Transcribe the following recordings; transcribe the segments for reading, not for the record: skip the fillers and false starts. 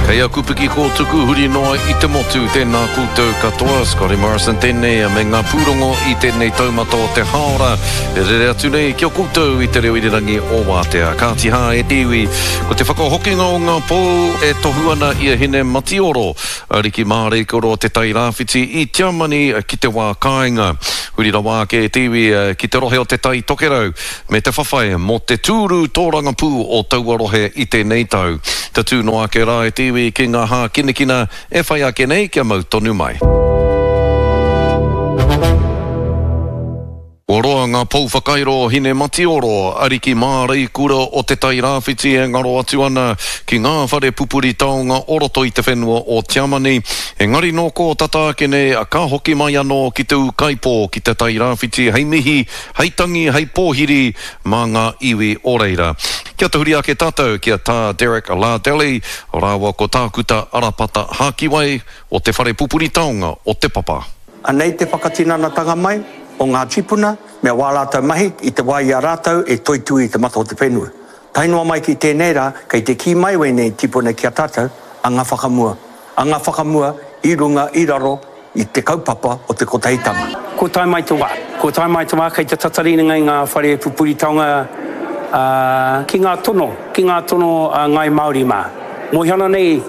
Kei aku piki kōtuku huri noa i te motu, tēnā koutou katoa, Scotty Morrison tēnei me ngā pūrongo i tēnei taumata o te hāora e rere atu nei ki a koutou i te reo irirangi o Wātea. Kāti hā e te iwi, ko te whakahokinga o ngā pou e tohu ana i a Hine Matioro, Ariki Māreikura o Te Tai Rāwhiti i Tiamani ki te wā kāinga. Huri rawa ake e te iwi ki te rohe o Te Tai Tokerau, me te whawhai mō te tūru tōrangapū o taua rohe i tēnei tau. Tatū noa ake rā e te iwi ki ngā hākinakina e whai ake nei kia mau tonu mai. Kua roa ngā pou whakairo o Hinematioro, ariki māreikura o Te Tai Rāwhiti e ngaro atu ana ki ngā whare pupuri taonga o roto i te whenua o Tiamani. Engari nō kō tata ake nei ka hoki mai anō ki te ūkaipō ki Te Tai Rāwhiti hei mihi hei tangi, hei pōhiri mā ngā iwi o reira. Kia tahuri ake tātou ki a Tā Derek Lardelli rāua ko Tākuta Arapata Hākiwai o Te Whare Pupuri Taonga o Te Papa. Anei te whakatinanatanga mai o ngā tīpuna me wā rātou mahi i te wā i a rātou e toitū i te mata o te whenua. Tae noa mai ki tēnei rā, kei te kī mai wēnei tīpuna ki a tātou, anga whakamua, anga whakamua i runga, i raro, i te kaupapa o te kotahitanga. Kua tae mai te wā. Kua tae mai te wā kei te tatari nei ngā whare pupuri taonga ki ngā tono, ki ngā tono a Ngāi Māori mā. Mōhio ana nei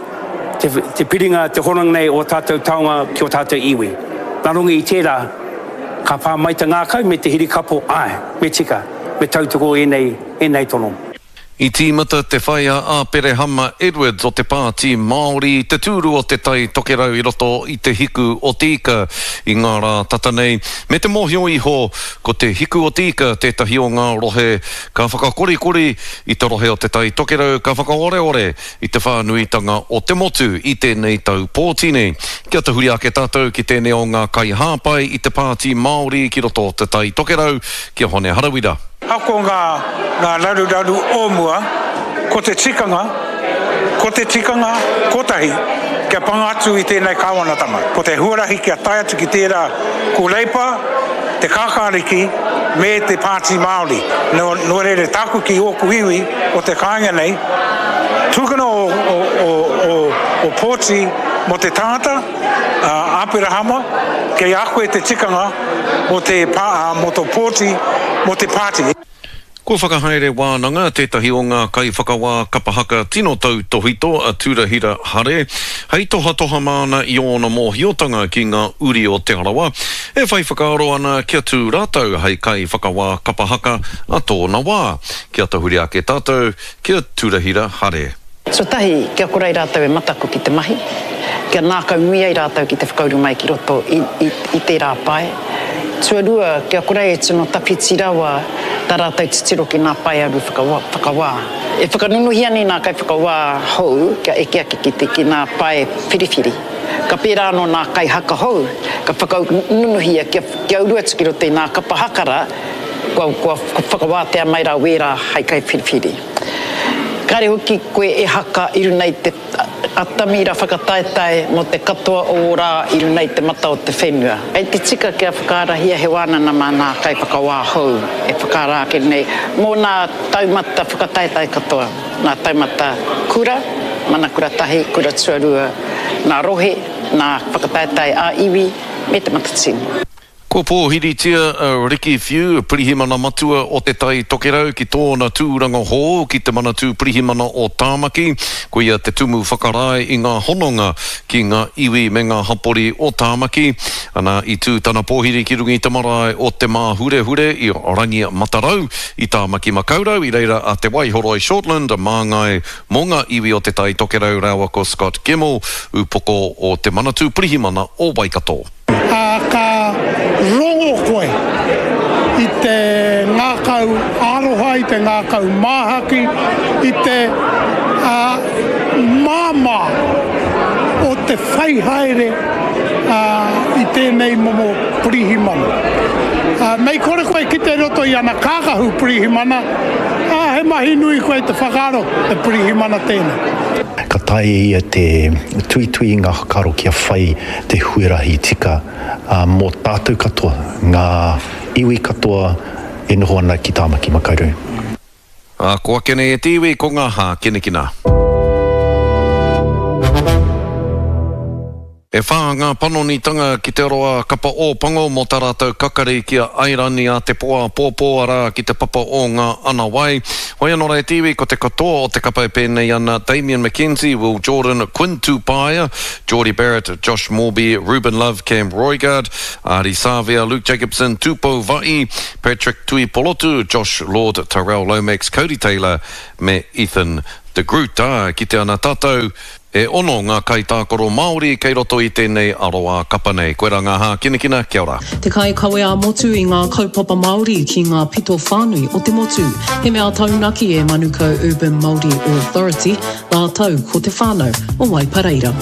te, te piringa, te hononga nei o tātou taonga ki o tātou iwi. Nā runga i tērā, ka pā mai te ngākau me te hirikapo, āe, me tika, me tautoko ēnei, ēnei tono. I tīmata te whai a Āperehama Edwards o te Pāti Māori i te tūru o Te Tai Tokerau i roto i Te Hiku o Te Ika i ngā rā tata nei, me te mōhio iho ko Te Hiku o Te Ika tētahi o ngā rohe ka whakakorikori i te rohe o Te Tai Tokerau ka whakaoreore i te whānuitanga o te motu i tēnei tau pōti nei. Kia tahuri ake tātou ki tēnei o ngā kaihāpai i te Pāti Māori ki roto o Te Tai Tokerau, ki a Hone Harawira. Ako ngā, ngā raruraru o mua, ko te tikanga, ko te tikanga kotahi kia panga atu i tēnei kāwanatanga. Ko te huarahi kia tae atu ki tērā ko Reipa, te Kākāriki me te Pāti Māori. Nō, nō reira tāku ki ōku iwi o te kāinga nei, tukuna o, o, o, o, o pōti mō te tangata, a Aperahama, kei a koe te tikanga mō te, mō tō pōti, mō te pāti. Kua whakahaere wānanga tētahi o ngā kaiwhakawā kapa haka tino tautōhito a Turahira Hare, hei tohatoha māna i ōna mōhiotanga ki ngā uri o Te Arawa, e whai whakaaro ana kia tū rātou hei kaiwhakawā kapa haka a tōna wā. Kia tahuri ake tātou ki a Turahira Hare. Tuatahi, kia kore ai rātou e mataku ki te mahi, kia nākaunui ai rātou ki te whakauru mai ki roto i, i, i tērā pae. Tuarua, kia kore ai e tino tawhiti rawa tā rātou titiro ki ngā paearu whakawa, whakawā. E whakanunuhia nei ngā kaiwhakawā hou kia eke ake ki te, ki ngā pae whiriwhiri. Ka pērā anō ngā kaihaka hou, ka whakanunuhia kia, kia uru atu ki roto i ngā kapa haka rā, kua, kua whakawātea mai rā wērā hei kaiwhiriwhiri. Kāre hoki koe e haka i runa i te atamira whakataetae mō te katoa o ō rā i runa i te mata o te whenua. Kei te tika kia whakaarahia he wānana mā nā kaiwhakawā hou e whakaara ake nei mō nā taumata whakataetae katoa, nā taumata kura, mana kura tahi, kura tuarua, nā rohe, nā whakataetae ā-iwi me Te Matatini. Kua pōhiritia a Ricky Whiu, Pirihimana Matua o Te Tai Tokerau ki tōna tūranga hou ki te Manatū Pirihimana o Tāmaki. Ko ia te tumu whakarae i ngā hononga ki ngā iwi me ngā hapori o Tāmaki. Ana, i tū tana pōhiri ki runga i te marae o Te Māhurehure i Rangi Matarau i Tāmaki Makaurau, i reira a Te Waihoroi Shortland, māngai mō ngā iwi o Te Tai Tokerau rāua ko Scott Gemmell, ūpoko o te Manatū Pirihimana o Waikato. Ā, ka rongo koe i te ngākau aroha, i te ngākau māhaki, i te māmā o te whai haere i tēnei momo pirihimana. Mei kore koe kite i roto i ana kākahu pirihimana, ā, he mahi nui koe te whakaaro he pirihimana tēnei. Ka taea e ia te tuitui i ngā whakaaro kia whai te huarahi tika mō tātou katoa, ngā iwi katoa e noho ana ki Tāmaki Makaurau. Ā, ko ake nei e te iwi, ko ngā hākinakina. E whā ngā panonitanga ki te aroā kapa Ōpango mō tā rātou kakari ki a Airani a te pō āpōpō, arā, ki te papa o ngā ana wai. Hoi anō rā e te iwi, ko te katoa o te kapa e pēnei ana, Damian McKenzie, Will Jordan, Quinn Tupaea, Jordie Barrett, Josh Moorby, Ruben Love, Cam Roigard, Ardie Savea, Luke Jacobson, Tupou Va'i, Patrick Tuipolotu, Josh Lord, Tyrell Lomax, Codie Taylor me Ethan de Groot. Ā, kite ana tātou, E ono ngā kaitākaro Māori kei roto i tēnei aroā kapa nei. Koirā ngā hākinakina, kia ora. Te kaikawe ā-motu i ngā kaupapa Māori ki ngā pito whānui o te motu. He mea taunaki e Manukau Urban Māori Authority rātou ko te whānau o Waipareira.